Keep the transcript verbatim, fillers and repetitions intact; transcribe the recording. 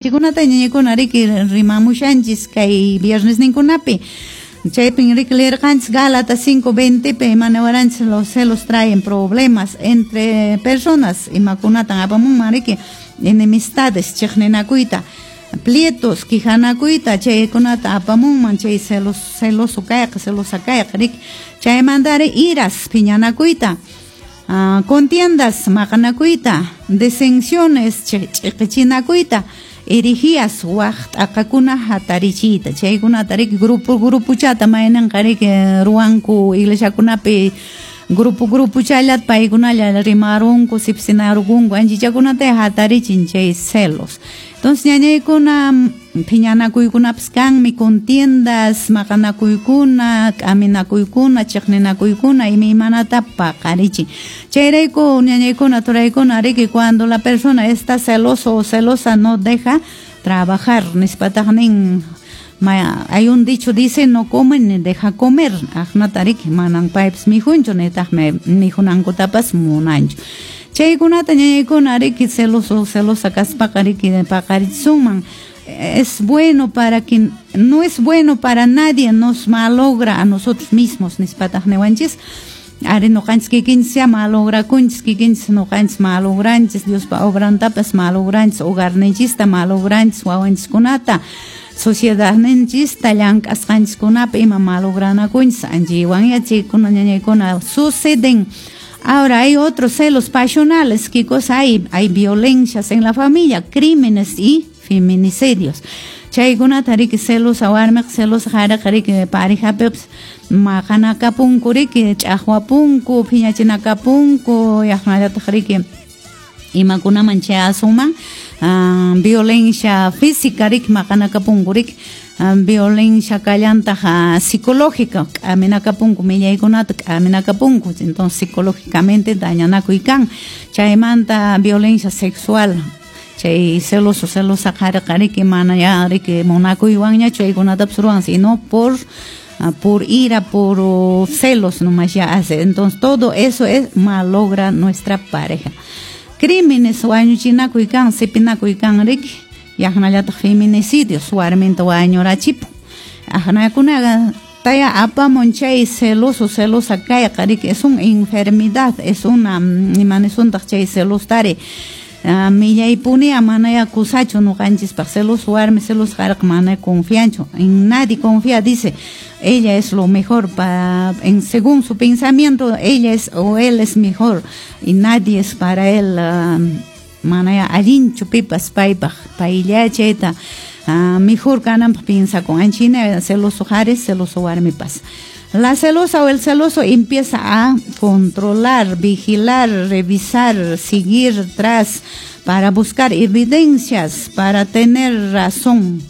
Chikunata ñañakuna riki rimamushanchis kay viernes ninkunapi. Chaypin riki leerqanchis Gálatas cinco veinte pi imanawaranchis los celos traen problemas entre personas, imakunatan apamunman riki enemistades chiqninakuyta, plietos quijanakuyta, chaykunata apamunman chay celos, celoso kayqa, celosa kayqa riki, chaymantari iras phiñanakuyta, uh, contiendas maqanakuyta, disensiones ch'iqichinakuyta, herejías waq t'aqakuna hatarichiyta, chaykunata riki grupo grupuchata mayninqa riki ruwanku iglesiakunapi grupo grupuchallat paykunalla rimarunku sipsinarunku anchichakunata hatarichin chay celos. Entonces ñañaykuna phiñanakuykunapas kanmi contiendas, maqanakuykuna, k'aminakuykuna, chiqninakuykuna imaymanata paqarichin. Chayrayku ñañaykuna turaykuna riki cuando la persona está celoso o celosa no deja trabajar, nispataq nin hay un dicho dice no come ni deja comer, aqnata riki manan paypas mikhunchu nitaqmi mikhunankutapas munanchu. Chaykunata ñañaykuna riki celoso celosa kaspaqa riki paqarichisunman. Es bueno para quien no es bueno para nadie, nos malogra a nosotros mismos nispataq niwanchis. Ari noqanchis kikinchis malograkunchis, kikinchis noqanchis malogranchis, Diospa obrantapas malogranchis, hogarninchista malogranchis, wawanchiskunata, sociedadninchista llank'asqanchiskunapi ima malogranakunchis, anchaywan chaykuna ñañaykuna suceden. Ahora hay otros celos pasionales, ¿qué cosa hay? Hay violencias en la familia, crímenes y feminicidios. Chaykunata riki celosa warmiqa celosa qhariqa riki parejapipas maqanakapunku riki ch'aqwapunku, phiñachinakapunku, yaqnallataq riki imakunaman chayasunman, uh, violencia física riki maqanakapunku riki, uh, violencia kallantaq uh, psicológica, k'aminakapunku millaykunata k'aminakapunku, entonces psicológicamente dañanakuy kan. Chaymanta violencia sexual, chay celoso celosa qhariqa riki mana ya riki munakuywanñachu chaykunatapas ruwan, sino por por ira, por celos nomás ya hace. Entonces todo eso es malogra nuestra pareja. Crímenes wañuchinakuy kan, sipinakuy kan riki, yaqnallataq feminicidios warminta wañurachipun. Aqnakunaqa taya apamun chay celoso celosa kayqa riki, es una enfermedad, es una imanisuntaq chay celostari. Uh, millaypunia manaya kusachu noqanchispaq, celoso warmi celoso qhariqa mana confianchu, en nadie confía, dice, ella es lo mejor pa, en según su pensamiento ella es o él es mejor y nadie es para él, uh, manaya allinchu pipas paypaq, paylla chayta uh, mejor kananpaq piensakun, anchina celoso qhari celoso warmipas. La celosa o el celoso empieza a controlar, vigilar, revisar, seguir tras para buscar evidencias, para tener razón.